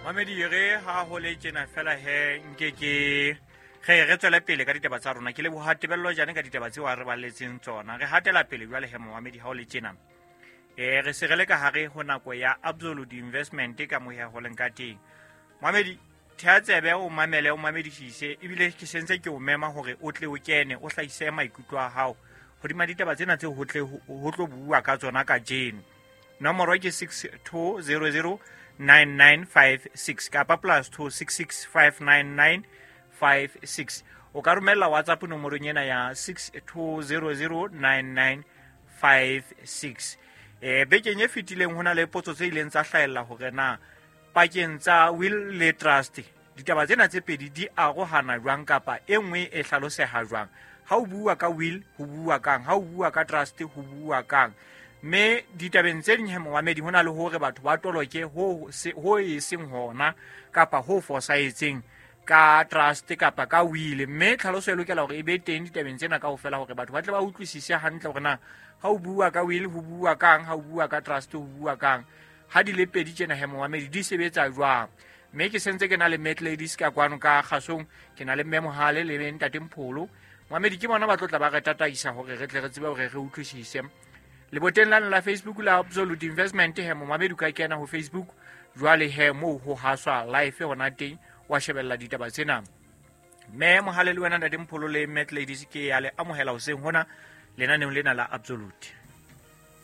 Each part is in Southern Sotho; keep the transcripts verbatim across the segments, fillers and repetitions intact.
Mamedi re ha ho le tjena fela he nke ke re re tswele pele ka ditaba tsa rona. Ke leboha Tebello Jane ka ditaba tseo a re balletseng tsona. Re hatela pele jwale he momamedi ha o le tjena. Eh re se re le ka hare ho nako ya Absolute Investment ka moya ho leng ka teng. Mamedi thea tsebe o mamele o mamedisise ebile ke sentse ke o mema hore o tle o kene o hlahise maikutlo a hao hodima ditaba tsena tse ho tle ho tlo bua ka tsona kajeno. Nomoro ke six two zero zero nine nine five six kapa plus two six six five nine nine five six. O ka romella WhatsApp nomorong ena ya six two zero zero nine nine five six. Eh bekeng e fetileng ho na le potso tse ileng tsa hlahella hore na pakeng tsa will le trust ditaba tsena tse pedi di arohana jwang kapa e nngwe e hlaloseha jwang. Ha o bua ka will ho bua kang, ha o bua ka trust ho bua kang. Mme ditabeng tse ding he momamedi ho na le hore batho ba toloke ho se ho e seng hona kapa ho fosahetseng ka trust kapa ka will. Mme tlhaloso e lokela hore e be teng ditabeng tsena kaofela hore batho ba tle ba utlwisise hantle hore na ha o bua ka will ho bua kang, ha o bua ka trust ho bua kang, ha di le pedi tjena he momamedi di sebetsa jwang. Mme ke sentse ke na le Mat Ladies ka kwano ka kgasong, ke na le Mme Mohale le Ntate Mpholo. Momamedi ke bona ba tlo tla ba re tataisa hore re tle re tsebe hore re utlwisise. Leboteng lane la Facebook la Absolute Investment he momamedi ka kena ho Facebook jwale he moo ho haswa live hona teng wa shebella ditaba tsena. Mme Mohale le wena Ntate Mpholo le Mat Ladies ke ya le amohela hoseng hona lenaneong lena la Absolute.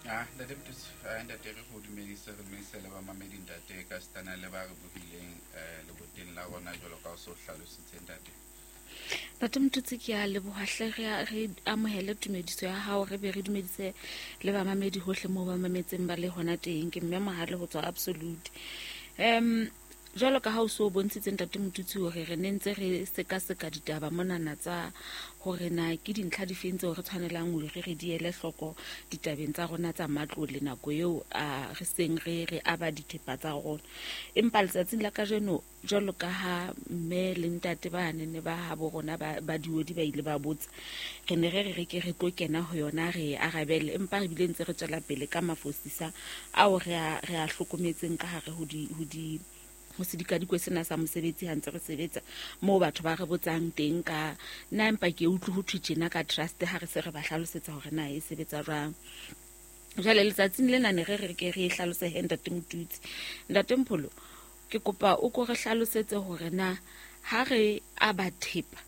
Ah, Ntate Mthutsi, ntate re go dumedise re dumedise le ba mamedi ntate ka stana le ba re buhileng eh leboteng la rona jwalo ka o so hlalositse ntate. Ntate Mthutsi ke a leboha hle re re amohele tumediso ya hao, re be re dumedise le ba mamedi hohle moo ba mametseng ba le hona teng. Ke Mme Mohale ho tswa Absolute. Em jwalo ka ha o so bontshitse Ntate Mthutsi hore re ne ntse re sekaseka ditaba monana tsa hore na ke dintlha difeng tseo re tshwanelang hore re re di ele hloko ditabeng tsa rona tsa matlole nako eo a re seng re re aba dithepa tsa rona. Empa letsatsing la kajeno jwalo ka ha mme le ntate ba ne ne ba ha bo rona ba ba diodi ba ile ba botsa, re ne re re re ke re tlo kena ho yona re arabele, empa re bile ntse re tswela pele ka mafosisa ao re a re a hlokometseng ka hare ho di ho di ho sedikadikwe sena sa mosebetsi ha ntse re sebetsa moo batho ba re botsang teng ka nna empa ke utlwe ho thwe tjena ka trust ha re se re ba hlalosetsa hore na e sebetsa jwang. Jwale letsatsing lena ne re re ke re e hlalose he Ntate Mthutsi. Ntate Mpholo, ke kopa o ko re hlalosetse hore na ha re aba thepa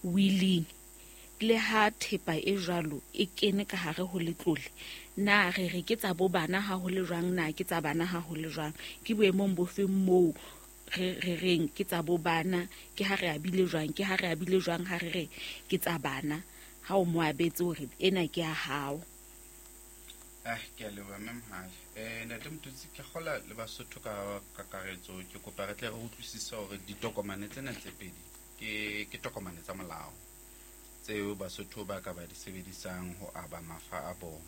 willing le ha thepa e jwalo e kene ka hare ho letlole, na re re ke tsa bo bana ha ho le jwang, na ke tsa bana ha ho le jwang, ke boemong bo feng moo re re reng ke tsa bo bana, ke ha re abile jwang, ke ha re abile jwang ha re re ke tsa bana ha o mo abetse hore ena ke ya hao. Ah, ke a leboha Mme Mohale. Eh Ntate Mthutsi, ke kgola le Basotho ka kakaretso, ke kopa re tle re utlwisise hore ditokomane tsena tse pedi ke ke tokomane tsa molao tseo Basotho ba ka ba di sebedisang ho aba mafa a bona.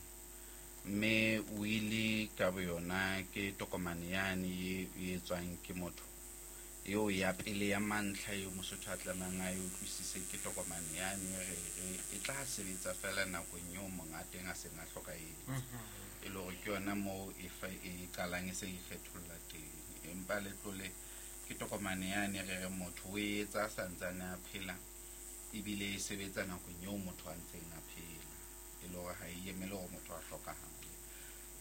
Mme wili ka boyona ke tokomane yane e e etswang ke motho eo ya pele ya mantlha eo Mosotho a tlamehang a e utlwisise, ke tokomane yane re re e tla sebetsa fela nakong eo monga teng a seng a hlokahetse. E le hore ke yona moo e fa e qalang e se e kgetholla teng. Empa letlole ke tokomane yane re re motho o e etsa a santsane a phela ebile e sebetsa nakong eo motho a ntseng a phela, e le hore ha e emele hore motho a hlokahale.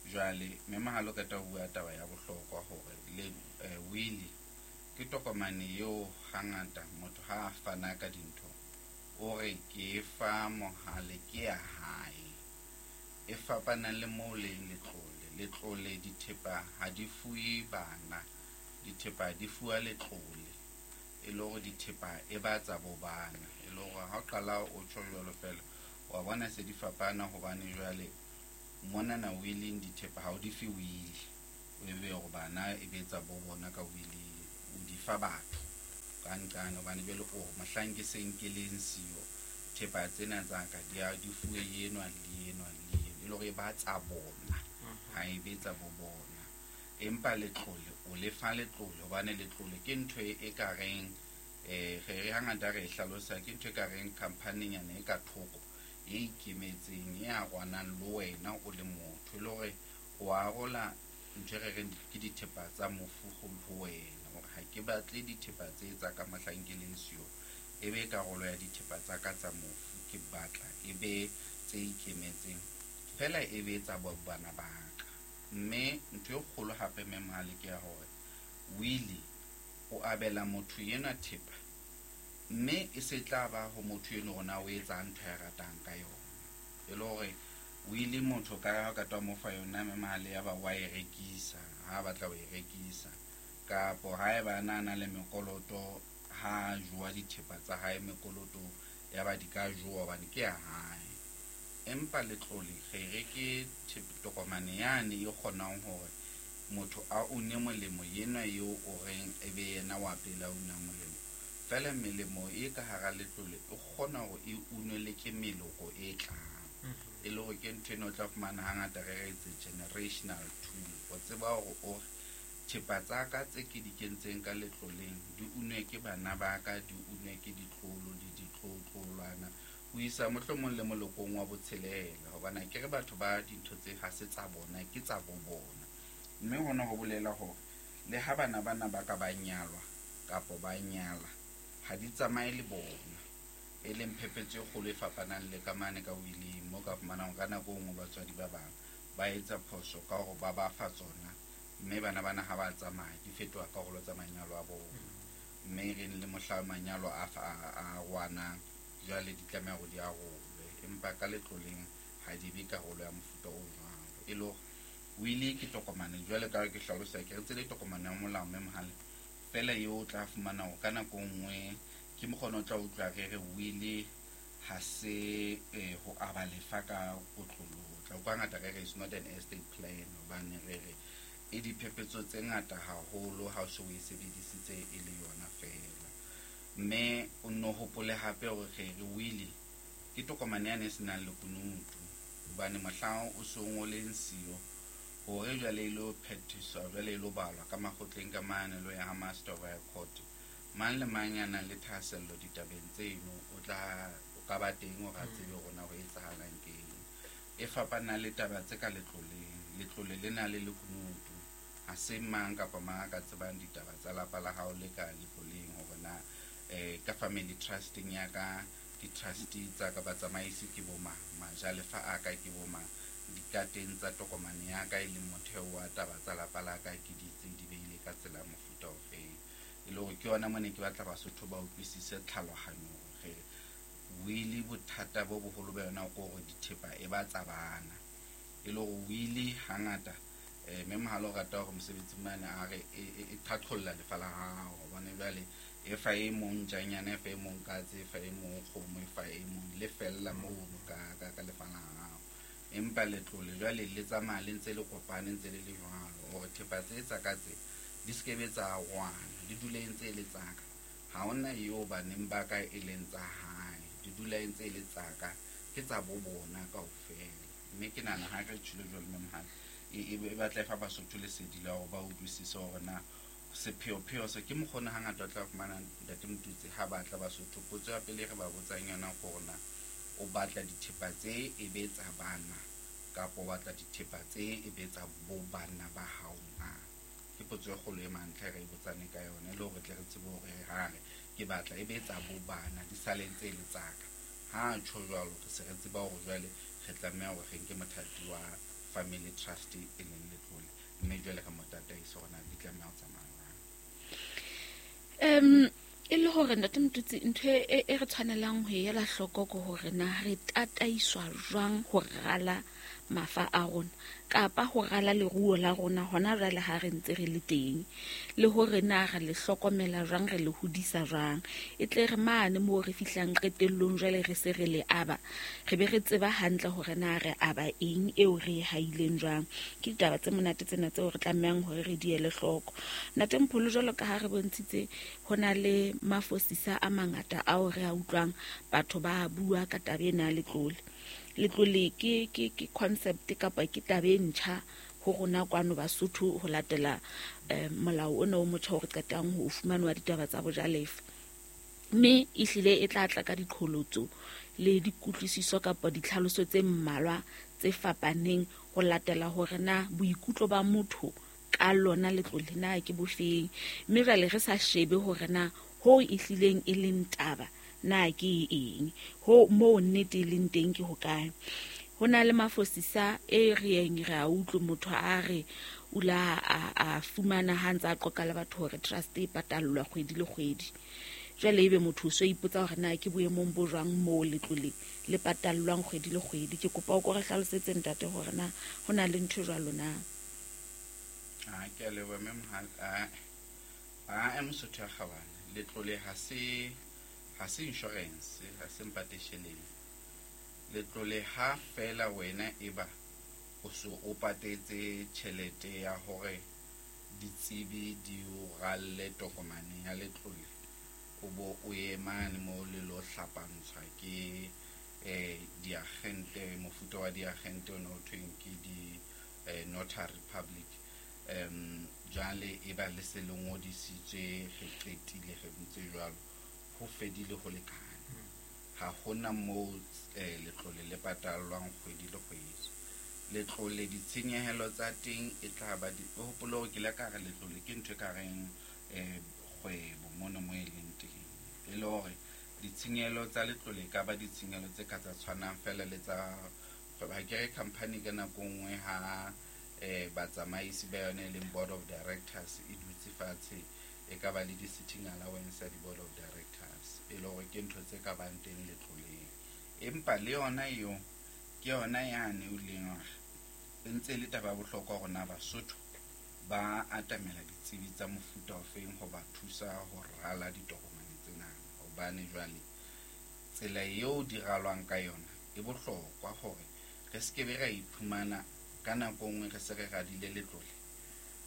Jwale Mme Mohale o qeta ho bua taba ya bohlokwa hore le eh, wili ke tokomane eo hangata motho ha a fana ka dintho o re ke fa Mohale ke ya hae, e fapana le moo leng letlole. Letlole dithepa ha di fuwe bana, dithepa di fuwa letlole, e le hore dithepa e ba tsa bo bana. E le hore ha o qala o tjho jwalo fela wa bona se di fapana, hobane jwale monana willing dithepa ha o di fe wili, o ebe hore bana e be tsa bo bona ka wili, o di fa batho ka nqane, hobane jwale o mohlang ke seng ke leng siyo thepa tsena tsa ka di a di fuwe enwa le enwa le enwa, e le hore e ba tsa bona ha e be tsa bo bona. Empa letlole o le fa letlole, hobane letlole ke ntho e e ka reng eh re re hangata re e hlalosa ke ntho e ka reng company-nyana e ka thoko e ikemetseng e arwanang le wena o le motho, e le hore o arola ntho e re reng ke dithepa tsa mofu ho wena, hore ke batle dithepa tse tsa ka mohlang ke leng siyo e be karolo ya dithepa tsa ka tsa mofu, ke batla e be tse ikemetseng fela e be tsa bana ba ka. Mme ntho e kgolo hape mme Mohale ke ya hore wili o abela motho enwa thepa, mme e se tla ba ho motho eno hore na o etsa ntho ya ratang ka yona. E le hore wili motho ka ha ka twa mo fa yona mme Mohale ya ba wa e rekisa ha batla ho e rekisa, kapo haeba na na le mekoloto ha jowa dithepa tsa hae mekoloto ya ba di ka jowa hobane ke ya hae. Empa letlole re re ke tokomane yane e kgonang hore motho a une molemo yena eo o reng e be yena wa pele a una molemo. Fela melemo e ka hara letlole e kgona hore e unwe le ke meloko e tlang. E le hore ke ntho eno o tla fumana hangata re re it's a generational tool. O tseba hore o thepa tsa ka tse ke di kentseng ka letloleng di unwe ke bana ba ka, di unwe ke ditlolo le ditlotlolwana ho isa mohlomong le molokong wa botshelela, hobane ke re batho ba dintho tse ha se tsa bona ke tsa bo bona. Mme hona ho bolela hore le ha bana bana ba ka ba nyalwa kapo ba nyala ha di tsamaye le bona, e leng phephetso e kgolo e fapanang le ka mane ka willing mo ka fumanang ka nako e nngwe batswadi ba bang ba etsa phoso ka hore ba ba fa tsona, mme bana bana ha ba tsamaya di fetoha karolo tsa manyalo a bona. Mme re le mohla manyalo a a rwanang jwale di tlameha hore di arolwe, empa ka letloleng ha di be karolo ya mofuta o jwalo. E le hore wili ke tokomane jwale ka ke hlalosa ke re tsele tokomane ya molao mme Mohale fela eo o tla fumana hore ka nako nngwe ke mokgona o tla utlwa re re wili ha se ho aba lefa ka kotloloho. Tla utlwa ngata re re it's not an estate plan, hobane re re e diphephetso tse ngata haholo ha o se o e sebedisitse e le yona fela. Mme o nno hopole hape hore re re wili ke tokomane yane e senang lekunutu, hobane mohlang o so ngoleng siyo hore jwale e lo phethiswa, jwale e lo balwa ka makgotleng ka mane lo ya ha Master of High Court, mang le mang ya nang le thahasello ditabeng tseno o tla o ka ba teng hore a tsebe hore na ho etsahalang keng. E fapana le taba tse ka letloleng. Letlole le na le lekunutu, ha se mang kapa mang a ka tsebang ditaba tsa lapa la hao le ka letloleng hore na eh ka family trusting ya ka di-trustee tsa ka batsamaisi ke bo mang, majalefa a ka ke bo mang, dikateng tsa tokomane ya ka e leng motheo wa taba tsa lapa la ka ke di tse di beile ka tsela mofuta ofeng. E le hore ke yona mone ke batla Basotho ba utlwisise tlhalohanyo hore wili bothata bo boholo ba yona ke hore dithepa e ba tsa bana. E le hore wili hangata eh mme Mohale o rata hore mosebetsi mane a re e qhaqholla lefa la hao, hobane jwale e fa e mong ntjanyana, e fa e mong katse, e fa e mong kgomo, e fa e mong le fella mono ka ka ka lefa la hao. Empa letlole jwale le tsamaya le ntse le kopane ntse le le jwalo hore thepa tse tsa ka tse di se ke be tsa rwana, di dule ntse e le tsa ka. Ha hona eo baneng ba ka e leng tsa hae, di dula ntse e le tsa ka, ke tsa bo bona kaofela. Mme ke nahana ha re tjhelo jwalo mme Mohale e e batla e fa Basotho lesedi la hore ba utlwisise hore na sepheopheo se ke mokgona hangata o tla fumana Ntate Motutsi ha batla Basotho potso ya pele re ba botsang yona ke hore na o batla dithepa tse e be tsa bana kapa o batla dithepa tse e be tsa bo bana ba hao na. Ke potso e kgolo e mantlha re e botsane ka yona e le hore tle re tsebe hore ha re ke batla e be tsa bo bana di sale ntse e le tsa ka. Ha tjho jwalo re se re tseba hore jwale re tlameha hore re nke mothati wa family trust e leng letlole, mme jwale re mo tataise hore na di tlameha ho tsamaya jwang. Um e le hore Ntate Motutsi ntho e e re tshwanelang ho ela hloko ke hore na re tataiswa jwang ho rala mafa a rona kapa ho rala leruo la rona hona jwale ha re ntse re le teng, le hore na re le hlokomela jwang, re le hodisa jwang, e tle re mane moo re fihlang qetellong jwale re se re le aba, re be re tseba hantle hore na re aba eng eo re e haileng jwang. Ke ditaba tse monate tsena tseo re tlamehang hore re di ele hloko. Ntate Mpholo, jwalo ka ha re bontshitse ho na le mafosisa a mangata ao re a utlwang batho ba bua ka taba ena ya letlole. Letlole ke ke ke concept kapa ke taba e ntjha ho rona kwano Basotho ho latela eh, molao ona o motjha o re qetang ho fumanwa ditaba tsa bojalefa, mme ehlile e tla tla ka diqholotso le dikutlwisiso kapa ditlhaloso tse mmalwa tse fapaneng ho latela hore na boikutlo ba motho ka lona letlole na ke bofeng. Mme jwale re sa shebe hore na ho e hlileng e leng taba na ke eng, ho moo nnete e leng teng ke hokae. Ho na le mafosisa e re yeng re a utlwe motho a re o la a, a fumana ha ntse a qoqa le batho hore trust e patallwa kgwedi le kgwedi. Jwale ebe motho o so ipotsa hore na ke boemong bo jwang moo letlole le patallwang kgwedi le kgwedi. Ke kopa o ko re hlalosetse ntate hore na ho na le ntho jwalo na. Ah, ke a leboha mme Mohale. Ah, ah, Mosotho ya kgabane, letlole ha se ha se insurance, ha se mpatesheleng. Letlole ha fela wena e ba o so o patetse tjhelete ya hore ditsebi di o ralle tokomane ya letlole, o bo o ye mane mo le lo hlapantshwa ke eh diagente, mofuta wa diagente o no thweng ke di eh, notary public. Um jwale e ba le se le ngodisitswe, re qetile re ntse jwalo, ho fedile ho lekane. Ha hona moo eh, letlole le patallwang kgwedi le kgwedi. Letlole ditshenyehelo tsa teng e tla ba di, o hopole hore ke ile ka re letlole ke ntho e ka reng eh kgwebo mona mo e leng teng. E le hore ditshenyehelo tsa letlole e ka ba ditshenyehelo tse ka tsa tshwanang fela le tsa kgwebo. Ha ke re company ka nako nngwe ha eh batsamaisi ba yona e leng board of directors e dutse fatshe, e ka ba le di-sitting allowance ya di-board of directors, e le hore ke ntho tse ka bang teng letloleng. Empa le yona eo ke yona yane o leng hore e ntse e le taba ya bohlokwa hore na Basotho ba atamela ditsebi tsa mofuta ofeng ho ba thusa ho rala ditokomane tsena. Hobane jwale tsela eo di ralwang ka yona e bohlokwa hore re se ke be ra iphumana ka nako nngwe re se re radile letlole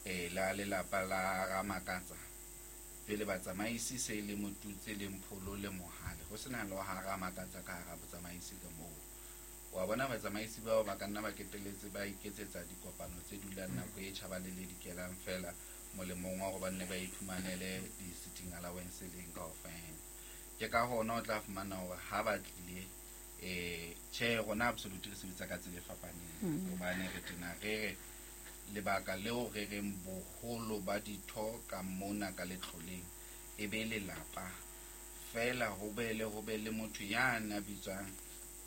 eh la lelapa la Ramakatsa, pele batsamaisi se le Motutse le Mpholo le Mohale, ho sena le ha Ramakatsa ka hara botsamaisi ka moo. Wa bona batsamaisi bao ba ka nna ba keteletse ba iketsetsa dikopano tse dulang nako e tjhaba le le dikelang fela molemong wa hore ba nne ba iphumanele di-sitting allowance leng kaofela. Ke ka hona o tla fumana hore ha ba tlile eh tjhe, rona absolutely re sebetsa ka tsela e fapaneng. Hobane re tena re re lebaka leo re reng boholo ba ditho ka mona ka letloleng e be lelapa fela, ho be le ho be le motho ya na bitswang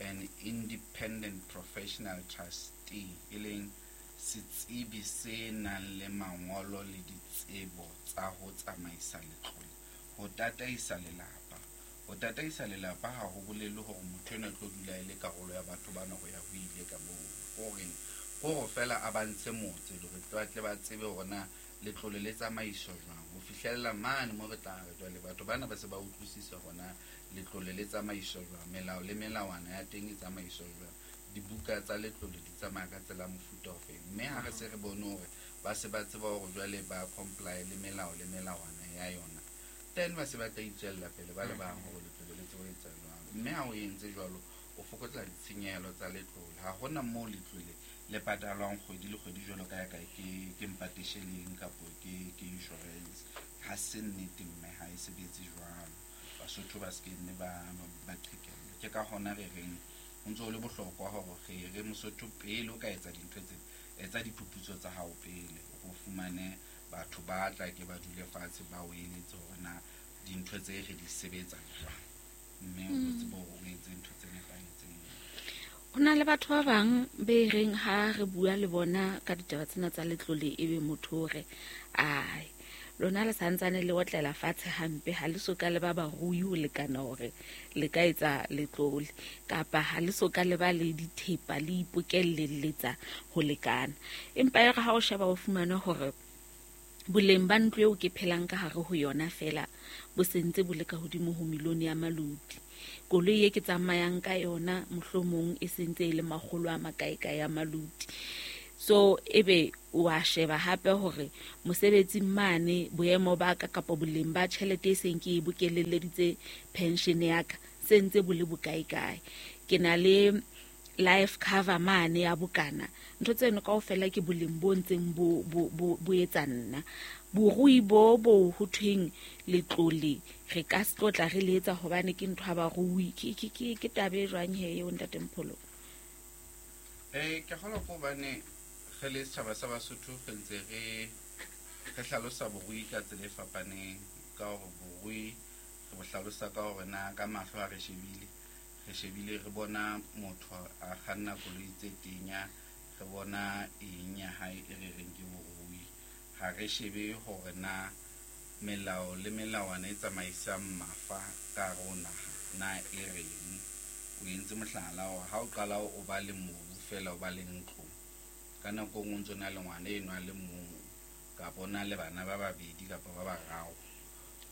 an independent professional trustee, e leng setsebi se nang le mangolo le ditsebo tsa ho tsamaisa letlole, ho tataisa lelapa. Ho tataisa lelapa ha ho bolele hore motho enwa o tlo dula e le karolo ya batho bana ho ya ho ile ka moo. Horeng hore fela a ba ntshe motse hore ba tle ba tsebe hore na letlole le tsamaiswa jwang, ho fihlella mane mo re tla re jwale batho bana ba se ba utlwisisa hore na letlole le tsamaiswa jwang, melao le melawana ya teng e tsamaiswa jwang, dibuka tsa letlole di tsamaya ka tsela mofuta ofe. Mme ha re se re bone hore ba se ba tseba hore jwale ba comply le melao le melawana ya yona, then ba se ba tla itswella pele ba le bang hore letlole le tsebe ho etsa jwalo. Mme ha o entse jwalo, o fokotsa ditshenyehelo tsa letlole. Ha hona moo letlole le patalwang kgwedi le kgwedi jwalo ka ya ka ke ke mpatesheleng kapo ke ke insurance. Ha se nnete mme ha e sebetse jwalo. Basotho ba se ke nne ba ba qhekellwa. Ke ka hona re reng ho ntso ho le bohlokwa hore re re Mosotho pele o ka etsa dintho tse, etsa diphuputso tsa hao pele, o fumane batho ba tla ke ba dule fatshe ba o eletse hore na dintho tse re di sebetsa jwang, mme o tsebe hore o etse ntho tse nepahetseng. Ho na le batho ba bang be reng ha re bua le bona ka ditaba tsena tsa letlole, ebe motho o re ai lona le santsane le otlela fatshe hampe, ha le so ka le ba barui ho lekana hore le ka etsa letlole, kapa ha le so ka le ba le dithepa le ipokelletsa ho lekana. Empa e re ha o sheba o fumane hore boleng ba ntlo eo ke phelang ka hare ho yona fela bo sentse bo le ka hodimo ho milione ya maluti, koloi e ke tsamayang ka yona mohlomong e sentse e le makgolo a makae kae ya maluti. So ebe wa sheba hape hore mosebetsing mane boemo ba ka kapa boleng ba tjhelete e seng ke e bokelelleditse pension ya ka se ntse bo le bokae kae, ke na le life cover mane ya bokana, ntho tseno kaofela ke boleng bo ntseng bo bo bo etsa nna. Borui bo bo ho thweng letlole re ka se tlotla re le etsa hobane ke ntho ya barui, ke ke ke ke taba e jwang he eo ntate Mpholo? Eh ke kgolwa ke hobane re le setjhaba sa Basotho re ntse re Re hlalosa borui ka tsela e fapaneng ka hore borui re bo hlalosa ka hore na ka mahlo a re shebile, re shebile re bona motho a kganna koloi tse tenya, re bona eng ya hae e re reng ke borui. Ha re shebe hore na melao le melawana e tsamaisang mafa ka hare ho naha na e reng. O entse mohlala hore ha o qala o ba le mobu fela o ba le ntlo, ka nako e nngwe o ntso na le ngwana eno a le mong kapa o na le bana ba babedi kapa ba bararo.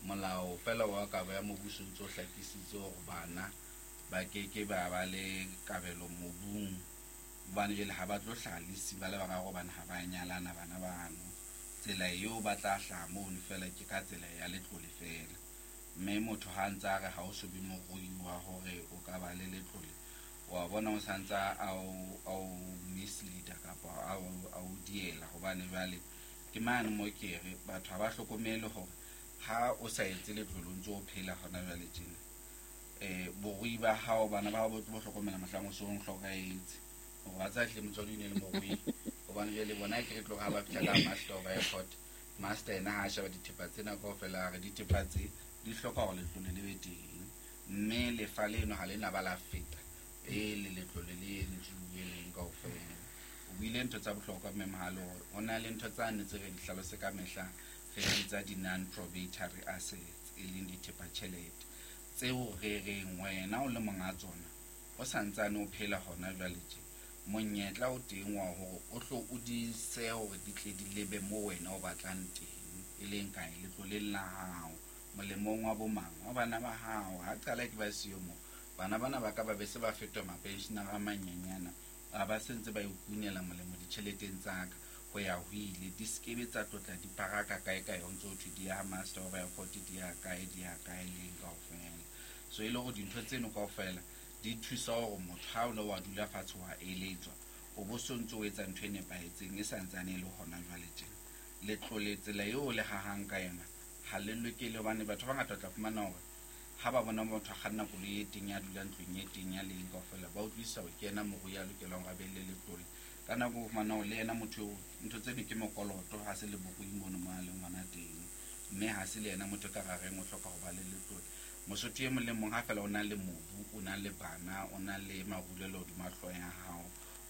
Molao fela wa kabo ya mobu o ntso hlakisitse hore bana ba keke ba ba le kabelo mobung, hobane jwale ha ba tlo hlaha le siba le bararo hobane ha ba nyalana bana bano. Tsela eo ba tla hlaha mono fela ke ka tsela ya letlole fela. Mme motho ha ntse a re ha o so be morui wa hore o ka ba le letlole, wa bona o santsa a o, a o misleader kapa a o, a o diela, hobane jwale ke mane mo ke re batho ha ba hlokomele hore ha o sa etse letlole o ntso o phela hona jwale tjena. Eh, borui ba hao, bana ba hao bo tlo hlokomela mohlang o so o hlokahetse. Hore ba tsa hle motswadi o ne le morui. Hobane jwale bona ke re tlo ha ba fihla ka master of airport, master ena ha a sheba dithepa tsena kaofela, a re dithepa tse di hloka hore letlole le be teng, mme lefa leno ha le na ba la feta pele letlole le entsuwe leng kaofela. O buile ntho tsa bohlokwa mme Mohale, hore ho na le ntho tsane tse re di hlalose ka mehla, re di bitsa di-non-probatory assets, e leng dithepa tjhelete tseo re reng wena o le monga tsona o santsane o phela hona jwale tje, monyetla o teng wa hore o hlo o di sehe hore di tle di lebe moo wena o batlang teng, e leng kae letloleng la hao, molemong wa bo mang, wa bana ba hao. Ha qala ke ba siyo moo, bana bana ba ka ba be se ba fetoha mapensionara a manyenyana, a ba sentse ba ikunela molemo ditjheleteng tsa ka ho ya ho ile, di skebe tsa tlotla di paraka kae kae, ho ntso ho thwe di ya master of airport, di ya kae, di ya kae leng kaofela. So e le hore dintho tseno kaofela di thusa hore motho ha o le wa dula fatshe wa eletswa, o bo so ntso o etsa ntho e nepahetseng e santsane e le hona jwale tjena. Letlole tsela eo le hahang ka yona ha le lokele, hobane batho ba bangata o tla fumana hore ha ba bona motho a kganna koloi e teng ya dulang ntlong e teng ya leng kaofela, ba utlwisisa hore ke yena morui ya lokelang hore a be le letlole. Ka nako o fumana hore le yena motho eo ntho tseno ke mokoloto, ha se le borui mono mo a leng hona teng, mme ha se le yena motho ka rareng o hloka ho ba le letlole. Mosotho e mong le mong ha fela o na le mobu, o na le bana, o na le marulelo hodima hlooho ya hao,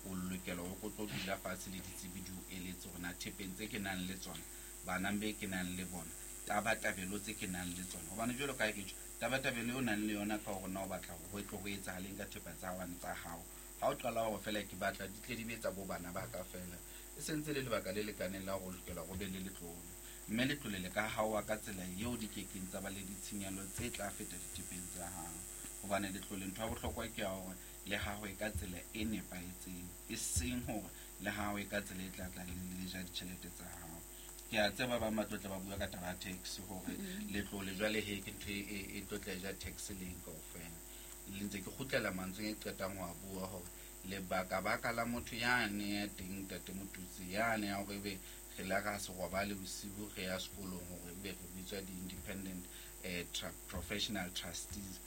o lokela hore o tlo dula fatshe le ditsebi di o eletse hore na thepeng tse ke nang le tsona, bana be ke nang le bona, tabatabelo tse ke nang le tsona. Hobane jwalo ka ha ke tjho, tabatabelo eo o nang le yona ka hore na o batla hore ho tlo ho etsahaleng ka thepa tsa hao tsa hao. Ha o qala hore fela ke batla di tle di be tsa bo bana ba ka fela, e sentse le lebaka le lekaneng la hore o lokela hore o be le letlole. Mme letlole le ka haowa ka tsela eo di kekeng tsa ba le ditshenyehelo tse tla feta dithepeng tsa hao. Hobane letlole ntho ya bohlokwa ke ya hore le hahwe ka tsela e nepahetseng, e seng hore le hahwe ka tsela e tla tla le le ja ditjhelete tsa hao. Ke a tseba ba bang ba tlo tla ba bua ka taba ya tax hore letlole jwale he ke ntho e, e, e tlo tla ja tax leng kaofela. Le ntse ke kgutlela mantsweng e qetang ho a bua hore lebaka baka la motho yane ya teng ntate Motutsi yane ya hore ebe re la ra se robale bosibu re ya sekolong hore ebe re bitswa di-independent, eh, tra-, professional trustees,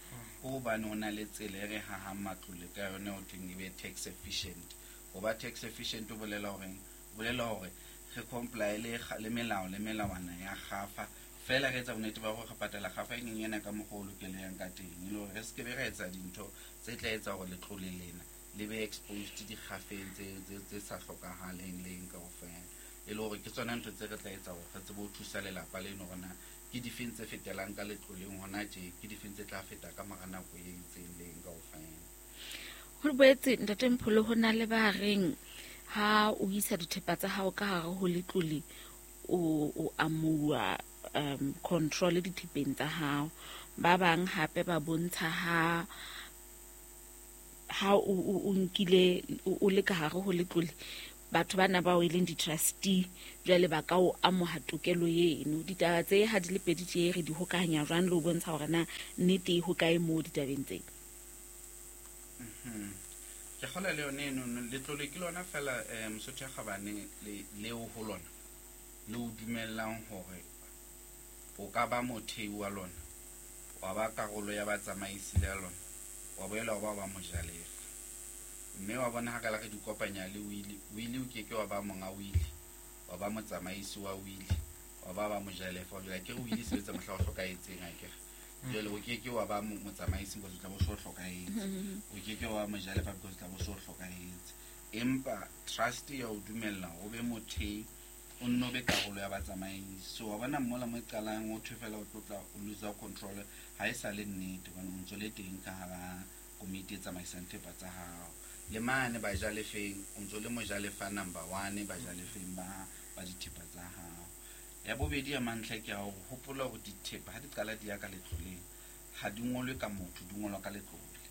ke hobane ho na le tsela e re hahang matlole ka yona ho thweng e be tax efficient. Ho ba tax efficient ho bolela horeng? Ho bolela hore re comply le kga-, le melao le melawana ya kgafa, fela re etsa bonnete ba hore re patala kgafa e nyenyane ka mokgwa o lokelehang ka teng, e le hore re se ke be ra etsa dintho tse tla etsa hore letlole lena le be exposed dikgafeng tse, tse, tse sa hlokahaleng leng kaofela. E le hore ke tsona ntho tse re tla etsa hore re tsebe ho thusa lelapa leno hore na ke difeng tse fetelang ka letloleng hona tje, ke difeng tse tla feta ka mora nako e itseng leng kaofela. Ho boetse ntate Mpholo, ho na le ba reng ha o isa dithepa tsa hao ka hare ho letlole, o, o amuwa, um, control dithepeng tsa hao. Ba bang hape ba bontsha ha, ha o, o, o nkile, o, o le ka hare ho letlole, batho bana bao e leng di-trustee jwale ba ka o amoha tokelo eno. Ditaba tse ha di le pedi tje re di hokahanya jwang le ho bontsha hore na nnete e hokae moo ditabeng tse? Mhm. Ke kgolwa le yone eno, letlole ke lona fela, eh, Mosotho ya Kgabane le, leo ho lona le o dumellang hore o ka ba mothei wa lona, wa ba karolo ya batsamaisi le lona, wa boela wa ba wa mojalefa. Mme wa bona ha ka la re di kopanya le wili, wili o keke wa ba monga wili, wa ba motsamaisi wa wili, Wa ba ba mojalefa jwale ke re o ile sebetsa mohla o hlokahetseng akere. Jwale o ke ke wa ba motsamaisi because o tla bo so hlokahetse. O ke ke wa mojalefa because o tla bo so hlokahetse. Empa trust ya o dumella o be mothei, o nno be karolo ya batsamaisi. So wa bona mola mo e qalang o thwe fela o tlotla o lose control ha e sa le nnete hobane o ntso le teng ka hara komiti e tsamaisang thepa tsa hao. Le mane bajalefeng o ntso le mojalefa number one bajalefeng ba ba dithepa tsa hao. Ya bobedi ya mantlha ke ya hore hopola hore dithepa ha di qala di ya ka letloleng ha di ngolwe ka motho, di ngolwa ka letlole.